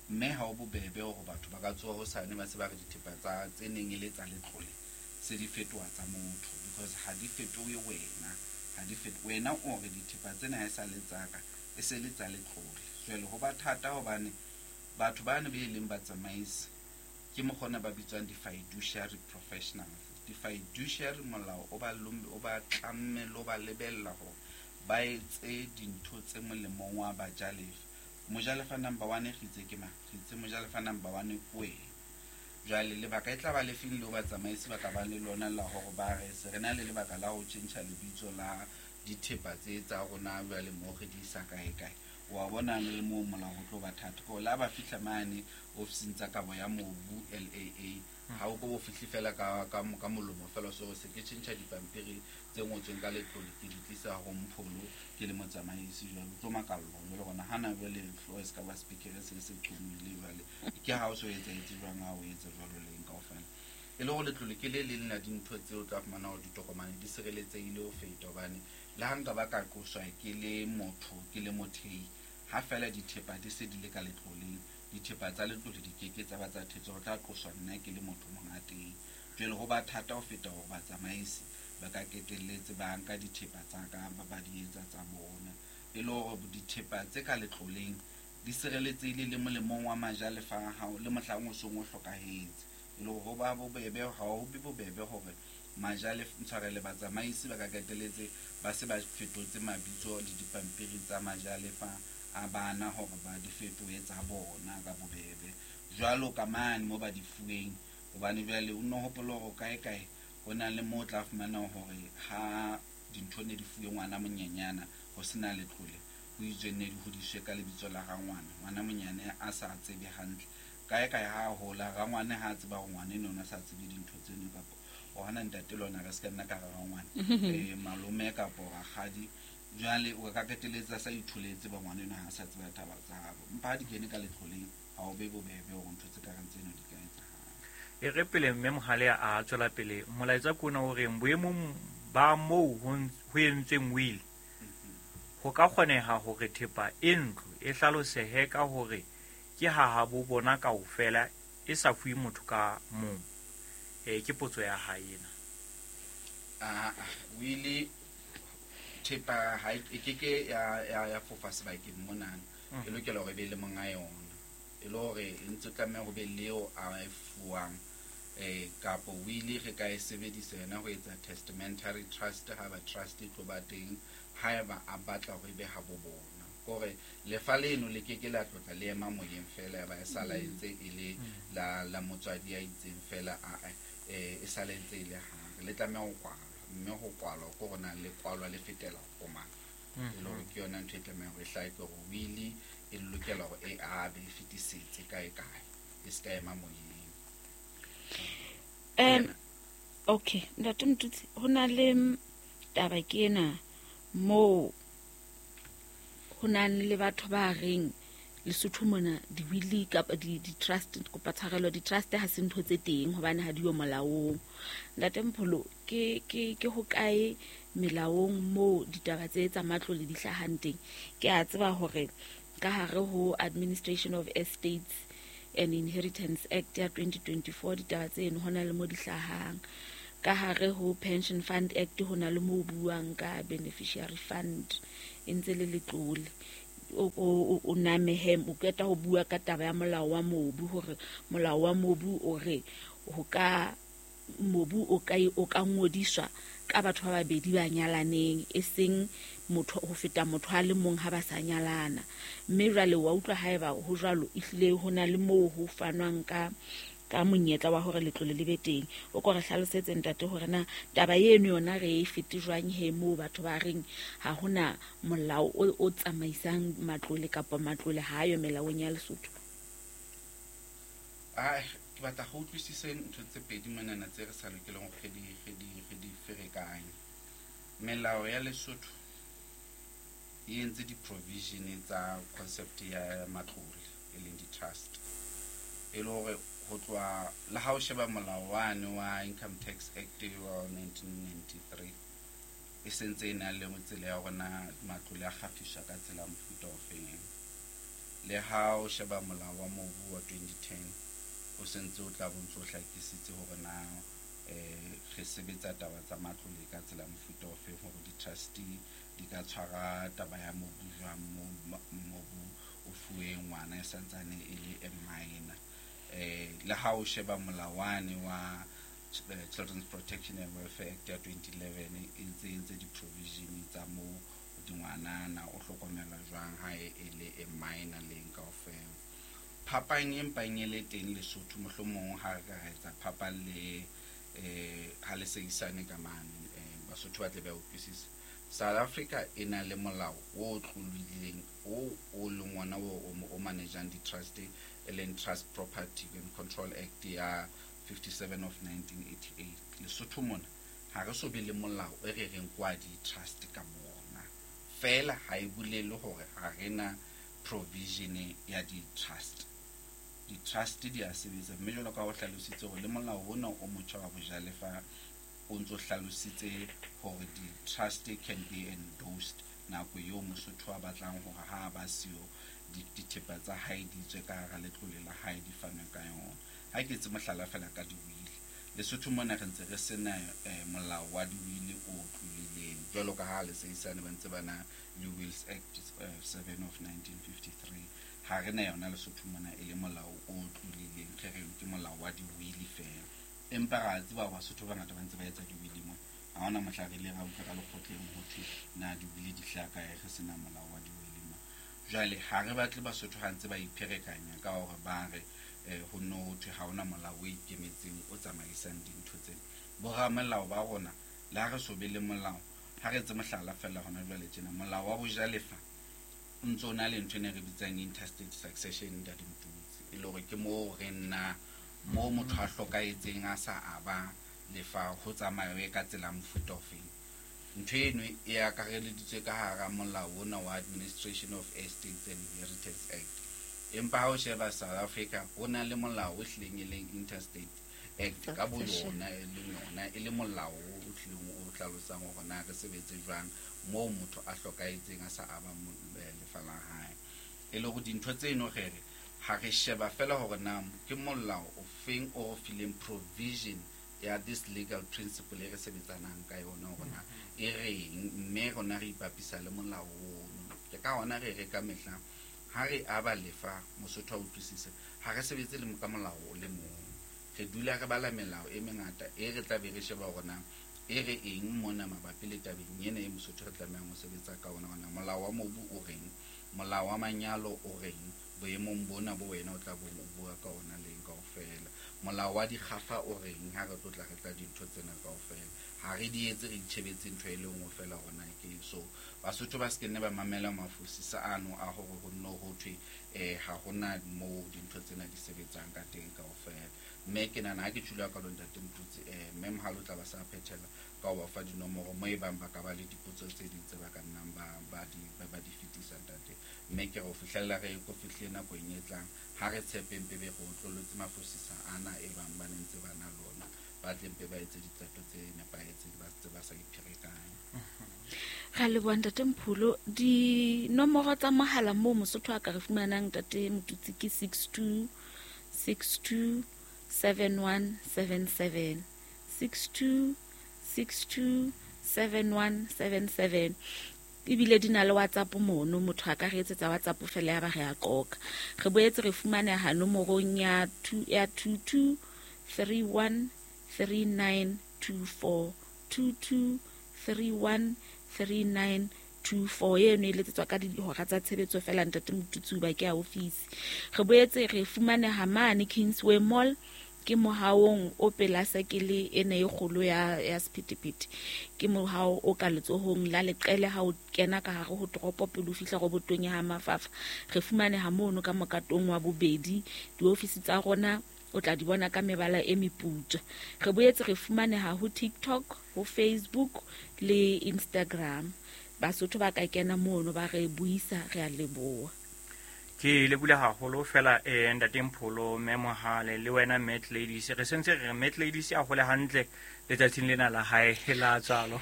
Mme ha o bobebe hore batho ba ka tsoha hosane ba se ba re dithepa tsa tse neng e le tsa letlole se di fetoha tsa motho, because ha di fetohe wena, ha di fetohe wena o re dithepa tsena ha e sa le tsa ka, e se le tsa letlole. Jwale ho ba thata hobane batho bano be leng batsamaisi ke mokgona ba bitswang di-fiduciary professionals. Di-fiduciary molao o ba o ba tlamme le o ba lebella hore ba etse dintho tse molemong wa bajalefa. Mojalefa number one re itse ke mang? Re itse mojalefa number one ke wena. Jwale lebaka e tla ba lefeng leo batsamaisi ba ka ba le lona la hore ba re se re na le lebaka la ho tjhentjha lebitso la dithepa tse tsa rona jwale mo re di isa kae kae. Wa bona le moo molao ho tlo ba thata. Ko la ba fihla mane ofising tsa kabo ya mobu L A A, ha o ko bo fihle fela ka ka ka molomo fela so se ke tjhentjha dipampiri tse ngotsweng ka letlole ke di tlisa ho Mpholo ke le motsamaisi jwale o tlo makallwa jwale hona hana jwale hlooho e se ka ba speaker se se qhomile jwale ke ha o so etsahetse jwang ha o etsa jwalo leng kaofela. E le hore letlole ke le leng la dintho tseo o tla fumana hore ditokomane di sireletsehile ho feta hobane le ha nka ba ka qoswa ke le motho ke le mothei ha fela dithepa di se di le ka letloleng, dithepa tsa letlole di keke tsa ba tsa thetswa, ho tla qoswa nna ke le motho monga teng. Jwale ho ba thata ho feta hore batsamaisi ba ka ketelletse ba nka dithepa tsa ka ba ba di etsa tsa bona. E le hore dithepa tse ka letloleng di sireletsehile le molemong wa majalefa a hao le mohlang o song o hlokahetse. E le hore ho ba bobebe, ha ho be bobebe hore majalefa ntshwarele batsamaisi ba ka ketelletse ba se ba fetotse mabitso le dipampiri tsa majalefa a bana hore ba di fetohe tsa bona ka bobebe. Jwalo ka mane mo ba di fuweng, hobane jwale o nno hopola hore kae kae ho na le moo o tla fumana hore ha dintho ne di fuwe ngwana monyenyana ho sena letlole, ho itswe ne di hodiswe ka lebitso la rangwana, ngwana monyane a sa tsebe hantle. Kae kae ha hola rangwane ha tseba hore ngwana eno o sa tsebe dintho tseno kapa o hana ntate lona re se ka nna ka rangwane eh malome kapo rakgadi. Jwale o ka keteletsa sa itholetse ba ngwana eno ha sa tseba taba tsa habo, empa ha di kene ka letloleng ha o be bobebe hore ntho tse ka reng tseno di ka etsahala. E re pele mme Mohale a tswela pele molaetsa ke ona o reng boemong ba moo ho entsweng will ho ka kgoneha hore thepa e ntlo e hlalosehe ka hore ke ha habo bona kaofela e sa fuwe motho ka mong. E ke potso ya hae ena. Ah wili thepa ha e ke ke ya ya ya fofa sebakeng monana, e lokela hore e be le monga yona, e le hore e ntse tlameha ho be leo a e fuwang eh kapo wili re ka e sebedisa yona ho etsa testamentary trust ha ba trust e tlo ba teng haeba a batla hore e be ha bo bona. Kore lefa leno le ke ke la tlotla le ema moyeng fela ya ba e sala e ntse e le la la motswadi ya itseng fela a e sala e ntse e le ha le tlameha ho kwalwa, mme ho kwalwa ko rona le kwalwa le fetela ho mang. E le hore ke yona ntho e tlamehang hore e hlahe ke hore wili e lokela hore e abe e fetisetse kae kae e se ka ema moyeng. Um okay ntate Motutsi, ho na le taba ke ena moo ho na le batho ba reng Lesotho mona di-wili kapa di-trust, kopa tshwarelo, di-trust ha se ntho tse teng hobane ha di yo molaong. Ntate Mpholo, ke ke ke hokae melaong moo ditaba tse tsa matlole di hlahang teng? Ke a tseba hore ka hare ho Administration of Estates and Inheritance Act ya twenty twenty-four ditaba tseno ho na le mo di hlahang. Ka hare ho Pension Fund Act ho na le mo buang ka beneficiary fund e ntse le letlole. O o o namehe o qeta ho bua ka taba ya molao wa mobu hore molao wa mobu o re ho ka mobu o ka o ka ngodiswa ka batho ba babedi ba nyalaneng e seng motho ho feta motho a le mong ha ba sa nyalana. Mme jwale wa utlwa haeba ho jwalo ehlile ho na le moo ho fanwang ka ka monyetla wa hore letlole le be teng. O ko re hlalosetse ntate hore na taba eno yona re e fete jwang he moo batho ba reng ha hona molao o, o tsamaisang matlole kapa matlole ha ayo melaong ya Lesotho. Ah, ke batla go utlwisise ntho tse pedi monana tse re sa lokeleng re di re di re di ferekanye. Melao ya Lesotho e entse di-provision tsa concept ya matlole e leng di-trust, e le hore ho tloha le ha o sheba molao wane wa Income Tax Act wa nineteen ninety-three e sentse e na le tsela ya hore na matlole a kgafiswa ka tsela ya mofuta ofeng. Le ha o sheba molao wa mobu wa twenty ten o sentse o tla bo ntso o hlakisitse hore na eh re sebetsa taba tsa matlole ka tsela ya mofuta ofeng, hore di-trustee di ka tshwara taba ya mobu jwang, mobu o fuwe ngwana e santsane e le a minor. Eh le ha o sheba molawane wa Children's Protection and Welfare Act ya twenty eleven e ntse entse di-provision tsa moo dingwanana o hlokomelwa jwang ha e le a minor leng kaofela. Phapang e mpang e le teng Lesotho mohlomong ha re ka ra etsa phapang le eh ha le seisane ka mane eh Basotho ba tle ba utlwisise. South Africa e na le molao o tlolileng o o leng ona o o managing di-trust e leng Trust Property and Control Act ya fifty-seven of nineteen eighty-eight. Lesotho mona ha re so be le molao e re reng kwa di-trust ka bona fela, ha e bolele hore ha re na provision ya di-trust. Di-trust di a sebetsa, mme jwalo ka ho hlalositse hore le molao ona o motjha wa bojalefa o ntso hlalositse hore di-trust can be endorsed nako eo Mosotho a batlang hore ha ba siyo dithepa tsa hae di tswe ka hara letlole la hae di fanwe ka yona. Ha ke etse mohlala fela ka diwili, Lesotho mona re ntse re sena molao wa diwili o tlolileng jwalo ka ha le seisane ba ntse ba na le Wills Act seven of nineteen fifty-three. Ha re na yona Lesotho mona e le molao o tlolileng, re reng ke molao wa diwili fela, empa ra tseba hore Basotho ba bangata ba ntse ba etsa diwili mona. Ha hona mohla re ile ra utlwa ka lekgotleng ho thwe na diwili di hlaha kae, re sena molao wa diwili mona. Jwale ha re batle Basotho ha ntse ba ipherekanya ka hore ba re eh ho no ho thwe ha hona molao o ikemetseng o tsamaisang dintho tsena. Boramelao ba rona le ha re so be le molao, ha re etse mohlala fela hona jwale tjena, molao wa bojalefa o ntso na le ntho e ne re bitsang intestate succession ntate Motutsi, e le hore ke moo re nna moo motho a hlokahetseng a sa aba lefa ho tsamaye ka tsela mofuta ofeng. Ntho eno e akareleditswe ka hara molao ona wa Administration of Estates and Inheritance Act. Empa ha o sheba South Africa ho na le molao o hlileng e leng Interstate Act ka bo yona e leng yona e le molao o hlileng o hlalosang hore na re sebetse jwang moo motho a hlokahetseng a sa aba lefa la hae. E le hore dintho tseno re re ha re sheba fela hore na ke molao o feng o fileng provision ya this legal principle e re sebetsanang ka yona hore na e reng, mme rona re ipapisa le molao ono. Ke ka hona re re ka mehla ha re aba lefa Mosotho a utlwisise, ha re sebetse le ka molao o le mong, re dula re bala melao e mengata e re tla be re sheba hore na e re eng mona mabapi le tabeng ena e Mosotho re tlamehang ho sebetsa ka ona. Hona molao wa mobu o reng, molao wa manyalo o reng boemong bona bo wena o tla bo o bua ka ona leng kaofela, molao wa dikgafa o reng ha re tlo tla re tla dintho tsena kaofela. Ha re di etse re itjhebetse ntho e le nngwe fela hore na ke so. Basotho ba se ke nne ba mamela mafosisa ano a hore ho nno ho thwe eh ha hona moo dintho tsena di sebetsang ka teng kaofela. Mme ke nahana ha ke tjhula ka lo ntate Motutsi eh mme Mohale o tla ba sa phethela ka ho ba fa dinomoro mo e bang ba ka ba le dipotso tse ding tse ba ka nnang ba ba di ba di fetisa ntate. Mme ke re ho fihlella re ko fihle nakong e tlang ha re tshepeng pebe re otlollotse mafosisa ana e bang ba ne ntse ba na lona, ba tle mpe ba etse diqeto tse nepahetseng, ba tse ba sa ipherekanya. Ra leboha ntate Mpholo. Dinomoro tsa mohala moo Mosotho a ka re fumanang ntate Motutsi ke six two six two seven one seven seven, six two six two seven one seven seven. Ebile di na le WhatsApp mono, motho a ka re etsetsa WhatsApp fela ya ba re a qoqa. Re boetse re fumaneha nomorong ya two ya two two three one three nine two four, two two three one three nine two four. Eno e letsetswa ka dihora tsa tshebetso fela ntate Motutsi ba ke ya office. Re boetse re fumaneha mane Kingsway Mall Ke mohaong o pela sekele ene e kgolo ya ya sephethephethe. Ke mohao o ka letsohong la leqele ha o kena ka hare ho toropo pele o fihla robotong ya ha Mafafa. Re fumaneha mono ka mokatong wa bobedi. Diofisi tsa rona o tla di bona ka mebala e meputswa. Re boetse re fumaneha ho TikTok, ho Facebook le Instagram. Basotho ba ka kena mono ba re buisa, re a leboha. Ke le bula haholo fela eh ntate Mpholo, mme Mohale le wena Matt Ladies. Re sentse re Matt Ladies a hole hantle letsatsing lena la hae la tswalo.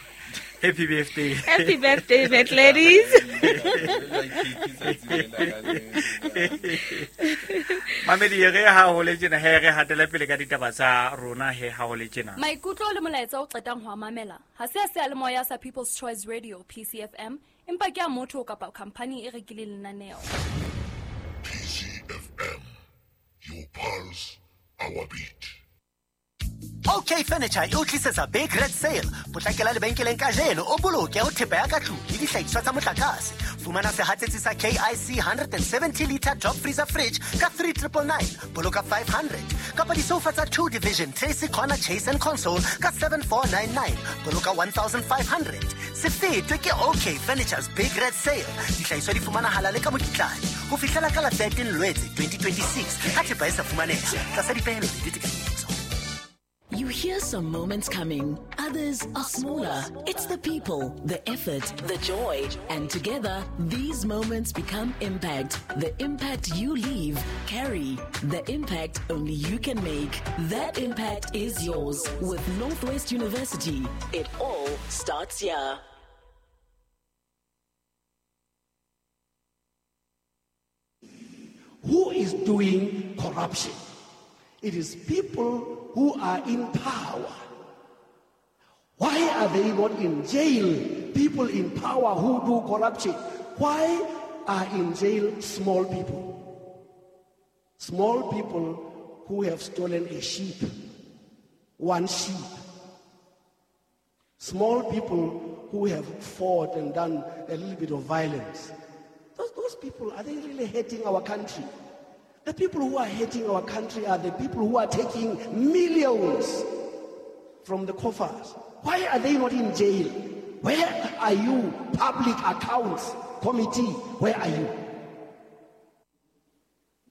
Happy birthday. Happy birthday Matt Ladies. Mamedi re ha hole tjena he re hatele pele ka ditaba tsa rona he ha hole tjena. Maikutlo le molaetsa o qetang ho mamela ha se a se a le moya sa People's Choice Radio P C F M empa ke a motho kapa company e rekileng lenaneo. P C F M, your pulse, our beat. OK Furniture e o tlisetsa Big Red Sale. Potlakela lebenkeleng kajeno o boloke ho thepa ya ka tlung le dihlahiswa tsa motlakase. Fumana sehatsetsi sa K I C one hundred seventy liter top freezer fridge ka three triple nine, boloka five hundred. Kapa disofa tsa two division Tracy Corner Chase and Console ka seven four nine nine, boloka one thousand five hundred. Se fetwe ke OK Furniture's Big Red Sale. Dihlahiswa di fumanahala le ka mokitlane ho fihlela ka la thirteen Lwetse twenty twenty-six. Ha thepa e sa fumaneha tlasa dipehelo le ditekanyetso. You hear some moments coming, others are smaller. It's the people, the effort, the joy. And together, these moments become impact. The impact you leave, carry. The impact only you can make. That impact is yours. With Northwest University, it all starts here. Who is doing corruption? It is people who are in power. Why are they not in jail? People in power who do corruption. Why are in jail small people? Small people who have stolen a sheep, one sheep. Small people who have fought and done a little bit of violence. Those, those people, are they really hating our country? The people who are hating our country are the people who are taking millions from the coffers. Why are they not in jail? Where are you, Public Accounts Committee? Where are you?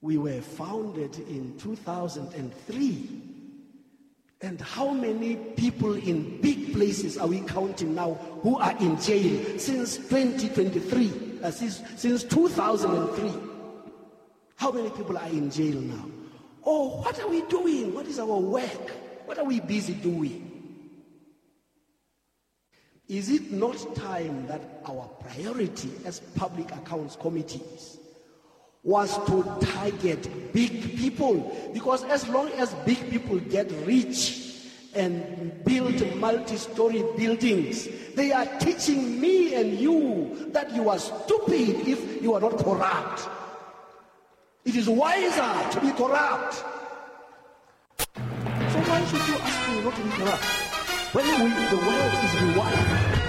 We were founded in two thousand three. And how many people in big places are we counting now who are in jail since twenty twenty-three, uh, since, since two thousand three? How many people are in jail now? Oh, what are we doing? What is our work? What are we busy doing? Is it not time that our priority as public accounts committees was to target big people? Because as long as big people get rich and build multi-story buildings, they are teaching me and you that you are stupid if you are not corrupt. It is wiser to be corrupt. So why should you ask me not to be corrupt? When we, the world is rewired.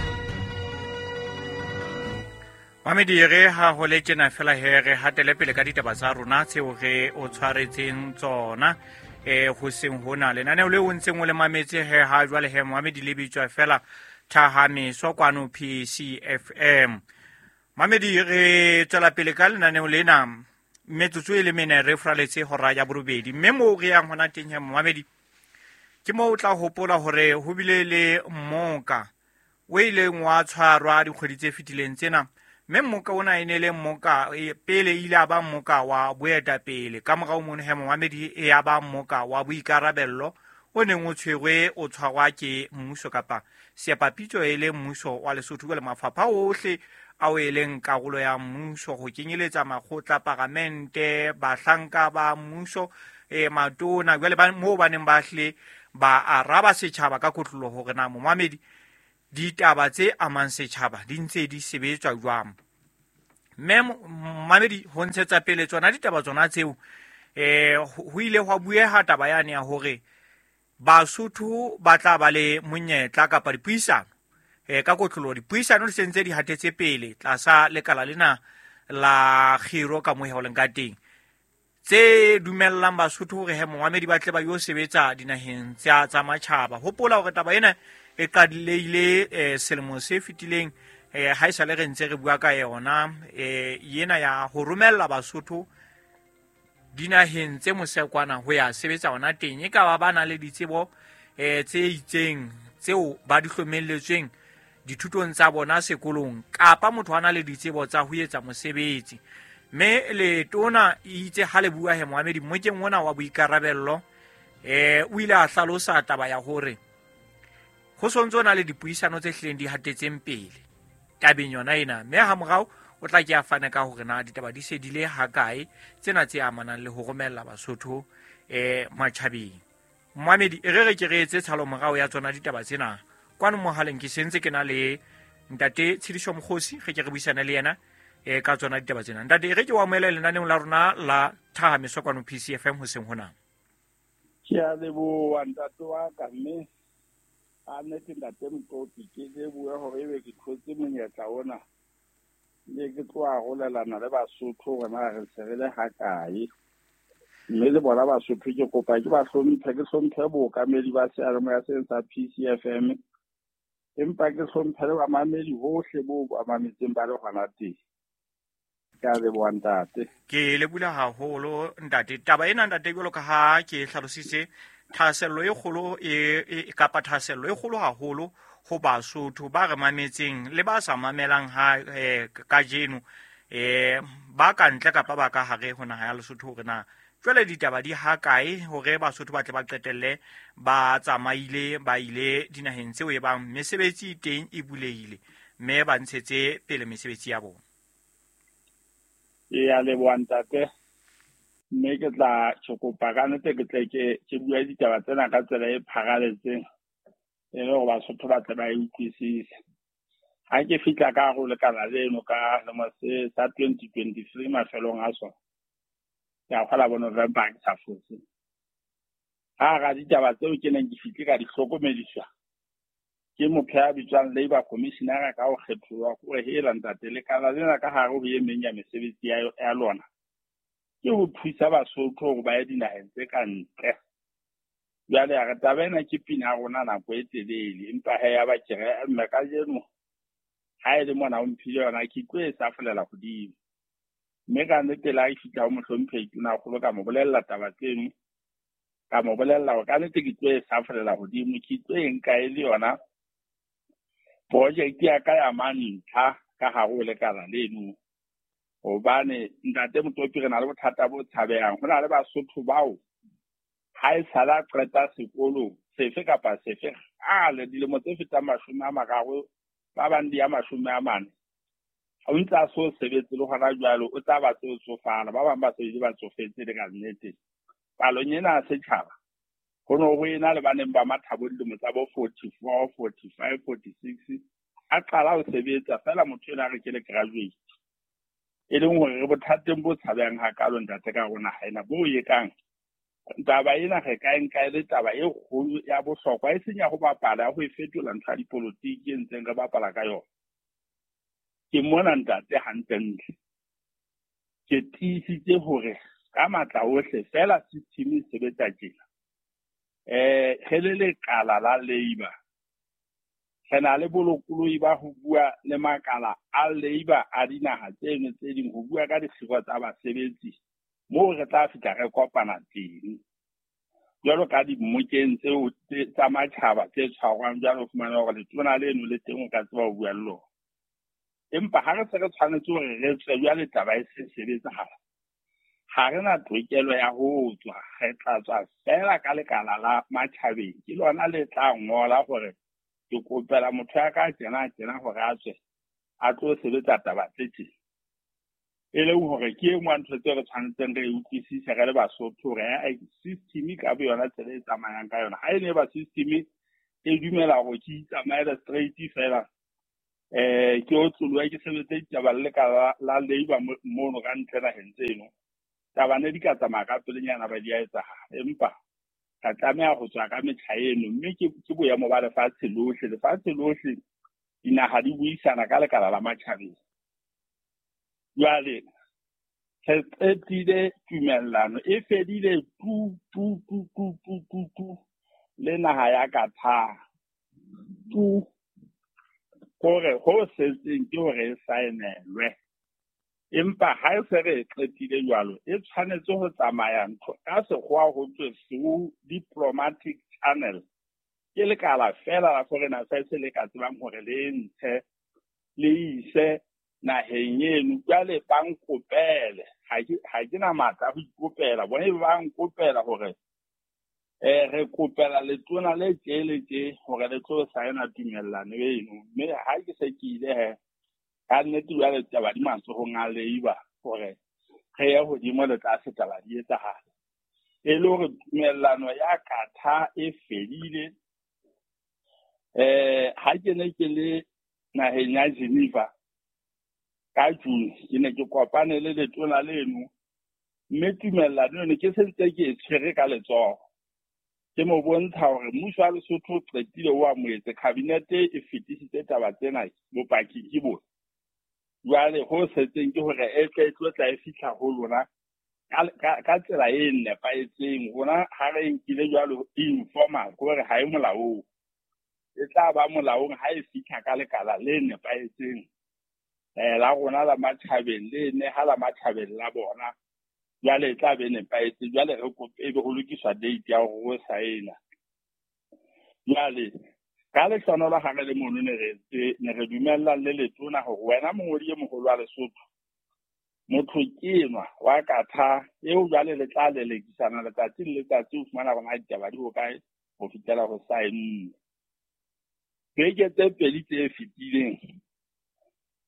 Mamedi re ha ho le tjena fela he re hatele pele ka ditaba tsa rona tseo re o tshwaretseng tsona eh ho seng hona lenaneo le o ntseng o le mametse he ha jwale he Mamedi le bitswa fela Thahameso kwano P C F M. Mamedi re tswela pele ka lenaneo lena metsotso e le mene re fraletse hora ya borobedi mme mo re yang hona teng he Mamedi ke mo o tla hopola hore ho bile le mmoka o ileng wa tshwarwa dikgwedi tse fetileng tsena mme mmoka ona e ne le mmoka pele ile a ba mmoka wa boetapele ka morao mono he Mamedi e ya ba mmoka wa boikarabello o neng o tshwerwe o tshwarwa ke mmuso kapa seapapitso e le mmuso wa Lesotho le mafapha ohle ao e leng karolo ya mmuso ho kenyeletsa makgotla paramente bahlanka ba mmuso e matona jwale ba moo ba neng ba hle ba araba setjhaba ka kotlolo hore na Momamedi ditaba tse amang setjhaba di ntse di sebetswa jwang. Mme Momamedi ho ntshetsa pele tsona ditaba tsona tseo eh ho ile hwa bueha taba yane ya hore Basotho ba tla ba le monyetla kapa dipuisano eh ka kotlolo dipuisano di sentse di hatetse pele tlasa lekala lena la khiro ka moheoleng ka teng tse dumellang Basotho hore he momamedi ba tle ba yo sebetsa dinaheng tsa tsa matjhaba. Hopola hore taba ena e qadile eh, selemo se fetileng, eh, ha esale re ntse re bua ka yona, eh, yena ya ho romella Basotho dinaheng tse mosekwana ho ya sebetsa hona teng. E ka ba ba na le ditsebo eh, tse itseng tseo ba di hlomelletsweng dithutong tsa bona sekolong, kapa motho a na le ditsebo tsa ho etsa mosebetsi. Mme letona itse ha le bua he momamedi mmokeng ona wa boikarabello, eh, o ile a hlalosa taba ya hore ho sontso na le dipuisano tse hlileng di hatetseng pele tabeng yona ena, mme ha morao o tla ke a fane ka hore na ditaba di se di le hakae tsena tse amanang le ho romella Basotho eh matjhabeng. Momamedi, e re re ke re etse tshalo morao ya tsona ditaba tsena. Kwano mohaleng ke sentse ke na le ntate Tshediso Mokgosi, re ke re buisane le yena e ka tsona ditaba tsena. Ntate, re ke wa amohela lenaneong la rona la Thahameso kwano P C F M hoseng hona. Ke a leboha ntate wa ka, mme a nnete ntate Motlopi, ke lebohe hore ebe ke thotse monyetla ona le ke tlo arolelana le Basotho hore na re se re le hakae. Mme le bona Basotho ke kopa ke ba hlomphe, ke hlomphe bookamedi ba seyalemoya sena sa P C F M, empa ke hlomphe le bamamedi bohle bo ba mametseng ba le hona teng. Ke a leboha ntate. Ke leboha haholo ntate. Taba ena ntate, jwalo ka ha ke hlalositse, thahasello e kgolo e, e kapa thahasello e kgolo haholo ho Basotho ba re mametseng le ba sa mamelang ha eh, kajeno, eh, ba ka ntle kapa ba ka hare ho naha ya Lesotho, hore na jwale ditaba di hakae hore Basotho ba tle ba qetelle ba tsamaile ba ile dinaheng tseo e bang mesebetsi e teng e bulehile, mme ba ntshetse pele mesebetsi ya bona. Ke a leboha ntate, mme ke tla ke kopa ka nnete ke tle ke ke bue ditaba tsena ka tsela e pharaletseng e le hore Basotho ba tle ba e utlwisise. Ha ke fihla ka hare ho lekala leno ka selemo se sa twenty twenty-three mafelong a sona, ke a kgola bo November ha ke sa fose. Ha hara ditaba tseo ke neng ke fihle ka di hlokomediswa ke motho ya bitswang Labour Commissioner ka ho kgetholwa hore hela ntate, lekala lena ka hare ho e meng ya mesebetsi ya, ya lona ke ho thusa Basotho hore ba ye dinaheng tse ka ntle. Jwale a re taba ena ke pina ya rona nako e telele, empa he ya ba ke re mme kajeno ha e le mona o mphile yona ke tlo e safolela hodimo. Mme ka nnete le ha ke fihla ho mohlomphehi Tonakgolo ka mo bolella taba tseno, ka mo bolella hore ka nnete ke tlo e safolela hodimo, ke tlo e nka e le yona project ya ka ya mantlha ka hare ho lekala leno. Hobane ntate Motlopi, re na le bothata bo tshabehang. Ho na le Basotho bao ha e sala qeta sekolo sefe kapa sefe kgale, dilemo tse fetang mashome a mararo, ba bang di ya mashome a mane, o ntse a so sebetse le hona jwale, o tla ba se o tsofala, ba bang ba se ba tsofetse le ka nnete. Palong ena ya setjhaba ho no ho ena le ba neng ba matha bo dilemo tsa bo forty-four, forty-five, forty-six, a qala ho sebetsa fela motho ena a re ke le graduate. E leng hore re bothateng bo tshabehang hakalo ntate ka rona ha ena bo e kang. Taba ena re ka e nka e le taba e kgolo ya bohlokwa, e seng ya ho bapala, ya ho e fetola ntho ya dipolotiki e ntseng re bapala ka yona. Ke mona ntate hantlentle ke tiisitse hore ka matla ohle fela system e sebetsa tjena. Eh, re le lekala la Labour re na le bolokolohi ba ho bua le makala a Labour a dinaha tseno tse ding, ho bua ka dikgiro tsa basebetsi moo re tla fihla re kopana teng. Jwalo ka dimmokeng tseo tsa matjhaba tse tshwarwang jwalo, o fumana hore letona leno le teng o ka tseba ho bua le lona. Empa ha re se re tshwanetse hore re tswe jwale taba e se sebetsahala, ha re na tokelo ya ho tswa, re tla tswa fela ka lekala la matjhabeng. Ke lona le tla ngola hore ke kopela motho ya ka tjena tjena hore a tswe a tlo sebetsa taba tse tjena. E leng hore ke e nngwe ya ntho tseo re tshwanetseng re e utlwisise re le Basotho, hore system ka bo yona tsela e tsamayang ka yona. Ha e ne ba system e dumela hore ke itsamaele straight fela, eh ke otloloha ke sebetse ditaba le lekala la Labour mono ka ntle naheng tseno, taba ne di ka tsamaya ka pelenyana ba di a etsahala. Empa ka tlameha ho tswa ka metjha eno, mme ke ke boemo ba lefatshe lohle. Lefatshe lohle dinaha di buisana ka lekala la matjhabeng. Jwale Re qetile tumellano e fedile tu tu tu tu tu tu tu le naha ya Qatar. Tu hore ho setseng ke hore e saenelwe. Empa ha e se re e qetile jwalo, e tshwanetse ho tsamaya ntho ka sekgowa ho thwe through diplomatic channel. Ke lekala fela la Foreign Affairs le ka tsebang hore le ntshe le ise naheng eno. Jwale ba nkopele, ha ke ha ke na matla a ho ikopela, bona ebe ba nkopela hore eh re kopela letona le tje le tje hore le tlo saena tumellano eno. Mme ha ke se ke ile he, ka nnete jwale taba di matsohong a Labour hore re ye hodimo le tlase taba di etsahala. E le hore tumellano ya Qatar e fedile. Eh ha ke ne ke le naheng ya Geneva ka June, ke ne ke kopane le letona leno, mme tumellano eno ke sentse ke e tshwere ka letsoho. Ke mo bontsha hore mmuso wa Lesotho o qetile o amohetse, kabinete e fetisitse taba tsena, bopaki ke bona. Jwale ho setseng ke hore e tle e tlo tla e fihla ho lona ka, ka, ka tsela e nepahetseng. Rona ha re e nkile jwalo informal, ke hore ha e molaong. E tla ba molaong ha e fihla ka lekala le nepahetseng, eh la rona la matjhabeng, le neha la matjhabeng la bona. Jwale e tla be nepahetse. Jwale re kope ebe ho lokiswa date ya hore ho saena. Jwale ka lehlohonolo ha re le mono ne re ntse, ne re dumellane le letona hore wena mongodi e moholo wa Lesotho, motho ke enwa wa Qatar eo jwale le tla lelekisana letsatsi le letsatsi ho fumana hore na ditaba di hokae ho fihlela ho saenwe. Beke tse pedi tse fetileng,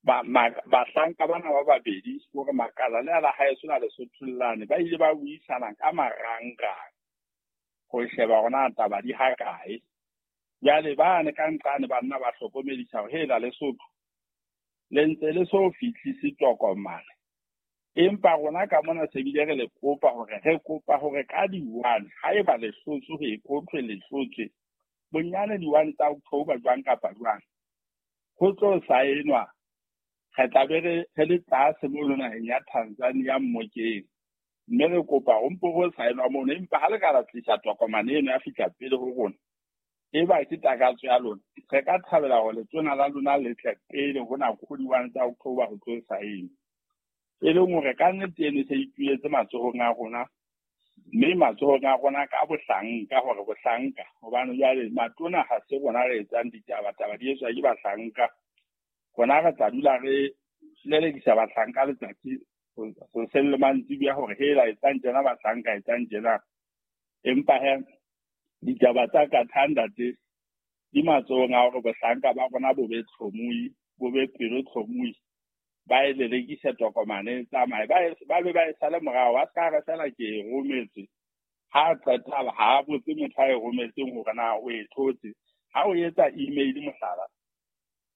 ba bahlanka bana ba babedi hore makala le ala haeso na Lesotho lane ba ile ba buisana ka marangrang ho sheba hore na taba di hakae. Jwale ba ne ka nqane banna ba hlokomedisa hore hela Lesotho le ntse le so fihlise tokomane, empa rona ka mona se bile re le kopa hore re kopa hore ka di-one haeba le hlotswe ho e kothwe le hlotswe bonyane di-one tsa October jwang kapa jwang ho tlo saenwa. Re tla be re re le tlase mono naheng ya Tanzania mmokeng, mme re kopa ho mpo ho saenwa mono. Empa ha le ka la tlisa tokomane eno ya fihla pele ho rona, e ba ke takatso ya lona, re ka thabela hore letona la lona le tle pele ho nako ho di-one tsa October ho tlo saenwa. E leng hore ka nnete eno e se ituletse matsohong a rona, mme matsohong a rona ka bohlanka, hore bohlanka, hobane jwale matona ha se rona re etsang ditaba, taba di etswa ke bahlanka. Rona re tla dula re lelekisa bahlanka letsatsi hoseng le mantsiboya hore hela etsang tjena bahlanka, etsang tjena. Empa he ditaba tsa Qatar ntate di matsohong a hore bohlanka ba rona bo be tlhomohi, bo be pelo tlhomohi, ba e lelekise tokomane e tsamaye, ba e ba be ba e sale morao. Ba ska re fela ke e rometse, ha qeta ha botse motho a e rometseng hore na o e thotse. Ha o etsa email mohlala,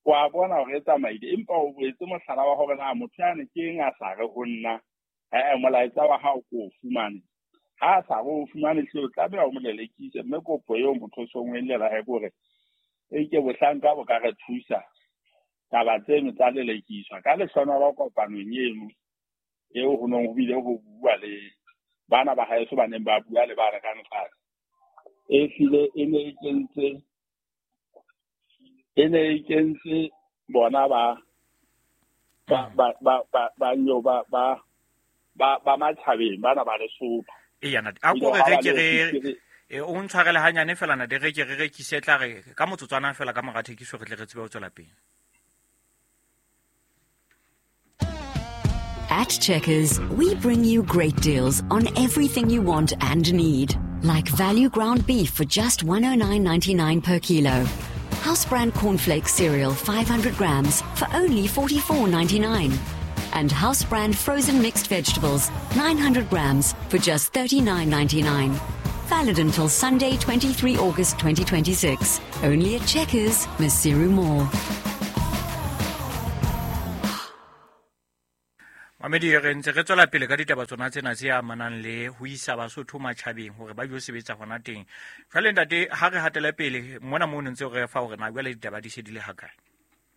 wa bona hore e tsamaile, empa o boetse mohlala wa hore na motho yane ke eng a sa re ho nna, eh molaetsa wa hao ko o fumane. Ha a sa re o fumane hle o tlameha o mo lelekise. Mme kopo eo motho o song o e llela he ke hore e ke bohlanka bo ka re thusa taba tseno tsa lelekiswa. Ka lehlohonolo kopanong eno eo ho nong ho bile ho bua le bana ba haeso ba neng ba bua le ba re ka nqane, e hlile e ne e kentse e ne e kentse bona ba ba ba ba ba ba nyo ba ba ba ba matjhabeng bana ba Lesotho. Eya ntate, a ko re re ke re e o ntshwarele hanyane fela ntate, re ke re rekise tla re ka motsotswana fela ka mora thekiso re tle re tsebe ho tswela pele. At Checkers, we bring you great deals on everything you want and need. Like value ground beef for just one oh nine ninety-nine per kilo. House brand cornflakes cereal five hundred grams for only forty-four ninety-nine. And house brand frozen mixed vegetables nine hundred grams for just thirty-nine ninety-nine. Valid until Sunday, twenty-three August twenty twenty-six. Only at Checkers, Maseru Mall. Mamedi, re ntse re tswela pele ka ditaba tsona tsena tse amanang le ho isa Basotho matjhabeng hore ba yo sebetsa hona teng. Jwale ntate, ha re hatele pele mona mo ntse re fa hore na jwale ditaba di se di le hakae?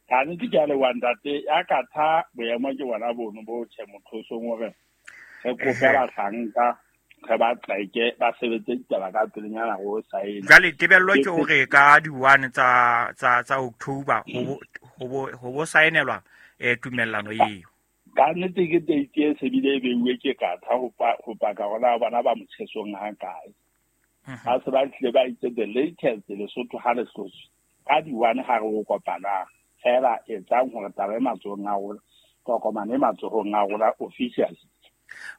Ka nnete ke a leboha ntate, ya Qatar boemo ke bona bono bo tjhe motho o song hore Re kope bahlanka re ba tleke ba sebetse ditaba ka pelenyana go saena. Jwale tebello ke hore ka di-one tsa tsa tsa October ho ho ho bo saenelwa eh tumellano eo. Ka nnete ke date e se bile e beuwe ke Qatar ho ho paka hore bona ba motjhesong ha kae. Ha se ba tlile ba itse the latest Lesotho ha le hlotswe ka di-one ha re o kopana fela etsang hore taba e matsohong a rona, tokomane e matsohong a rona officially.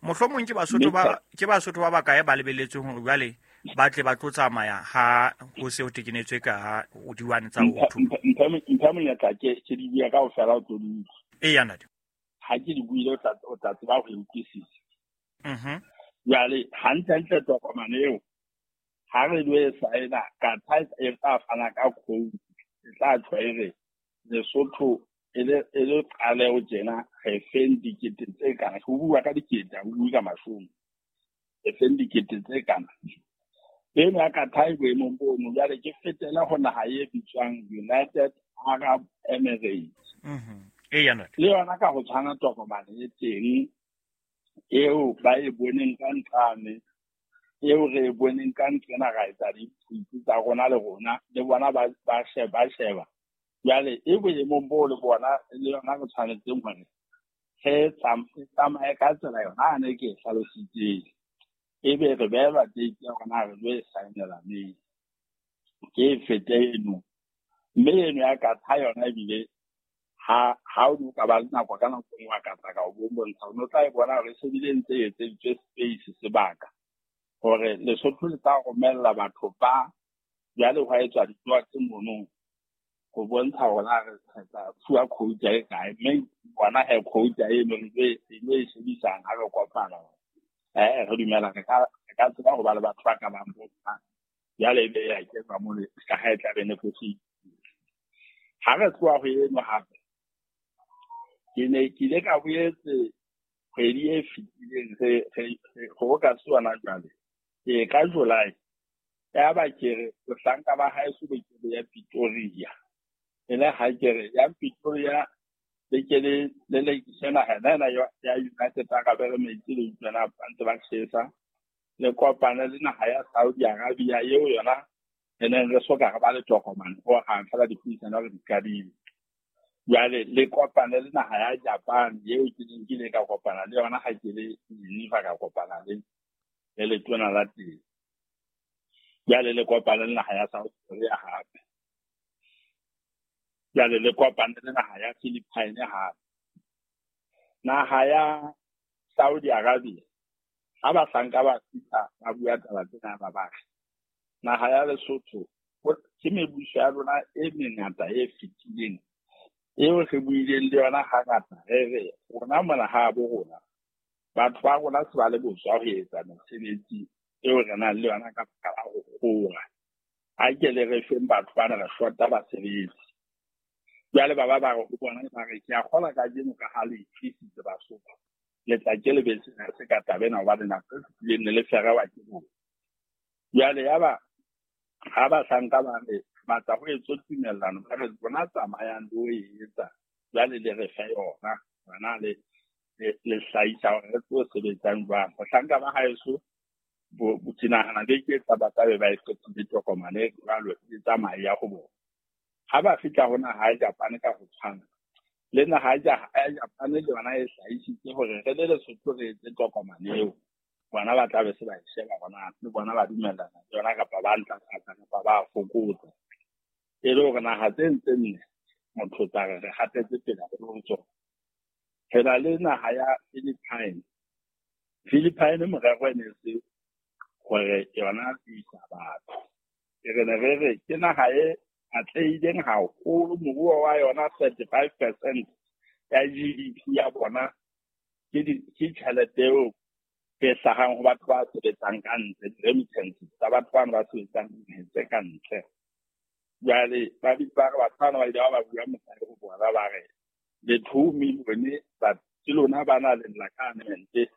Mohlomong ke Basotho ba ke Basotho ba bakae ba lebelletsweng hore jwale ba tle ba tlo tsamaya ha ho se ho tekenetswe ka di-one tsa October. Mphe monyetla ke ke di bua kaofela o tlo di utlwa. Eya ntate. Ha ke di buile o tla o tla tseba ho e utlwisisa. Mhm. Jwale hantlentle tokomane eo ha re lo e saena Qatar e tla fana ka quote, e tla tjho e re Lesotho e le e le qaleho tjena re feng dikete tse kana, ho bua ka dikete ha ho bue ka mashome, re feng dikete tse kana. Eno ya Qatar e boemong bono. Jwale ke fetela ho naha e bitswang United Arab Emirates. Mhm. Eya ntate. Le yona ka ho tshwana tokomane e teng eo ba e boneng ka nqane, eo re e boneng ka nqena ra etsa diphupu tsa rona le rona le bona ba ba sheba sheba. Jwale e boemong bo le bona le yona re tshwanetseng hore re tsamaye ka tsela yona a ne ke e hlalositseng, ebe re behelwa date ya rona re lo e saenela neng. Ke e fete eno, mme eno ya Qatar yona ebile ha ha o ka ba le nako ka nako e nngwe wa ka tla ka o bontsha, o no tla e bona hore e se bile ntse e etseditswe space sebaka hore Lesotho le tla romella batho ba jwale hwa etswa ditoa tse mono ho bontsha hore na re tla fuwa quota e kae, mme bona he quota eno re e lo e shebisang ha re kopana. Eh re dumela re ka re ka tseba ho ba le batho ba ka bang bo jwale ebe ya kenwa mole ka ha e tla be negotiate. Ha re tloha ho eno hape ke ne ke ile ka boetse kgwedi e fetileng re re ho ka tswana jwale ke ka July ya ba ke re bahlanka ba haeso be ke ya Pretoria, e le ha ke re ya Pretoria le ke le le le tsena hana ya ya United Arab Emirates le tsena ba ntse ba tjhesa le kopane le naha ya Saudi Arabia eo yona e neng re soka re ba le tokomane ho hang fela dipuisano re di qadile. Jwale le kopane le naha ya Japan eo ke neng ke ile ka kopana le yona ha ke le Geneva ka kopana le le letona la teng. Jwale le kopane le naha ya South Korea hape. Jwale le kopane le naha ya Philippines hape. Naha ya Saudi Arabia ha bahlanka ba fihla ba bua taba tsena ba ba naha ya Lesotho ke mebuso ya rona e mengata e fetileng eo re buileng le yona hangata re re rona mona ha bo rona batho ba rona se ba le botswa ho etsa mesebetsi eo re nang le yona ka baka la ho kgora. Ha ke le re feng batho bana re shota basebetsi. Jwale ba ba ba re ho bona ba re ke a kgola kajeno ka ha le itlisitse Basotho le tla ke le be sena se ka taba ena hobane nako e fetileng ne le ferewa ke bona. Jwale yaba ha bahlanka ba re batla ho etswa tumellano ba re bona tsamayang le ho e etsa jwale le re fe yona bona le le hlahisa hore re tlo sebetsang jwang. Bahlanka ba haeso bo ke nahana be ke tsa ba tlabe ba e qetile tokomane jwalo e tsamaya ya ho bona. Ha ba fihla ho naha ya Japan ka ho tshwana le naha ya Japan le yona e hlahisitse hore re le Lesotho re etse tokomane eo bona ba tlabe se ba e sheba bona le bona ba dumellana le yona kapa ba ntlafatsa kapa ba fokotsa. E le hore naha tse ntse nne motho tsa re re hatetse pele ho tsona. Re na le naha ya Philippines. Philippines morero e ne se hore yona e isa batho. Re ne re re ke naha e atlehileng haholo, moruo wa yona thirty-five percent ya G D P ya bona ke ke tjhelete eo e hlahang ho batho ba sebetsang ka ntle, di-remittances tsa batho bana ba sebetsang dinaheng tse ka ntle. Jwale ba bitsa ba re batho bana ba ile ba ba bua mosadi ho bona ba re le two million ba ke lona ba na le lla ka mente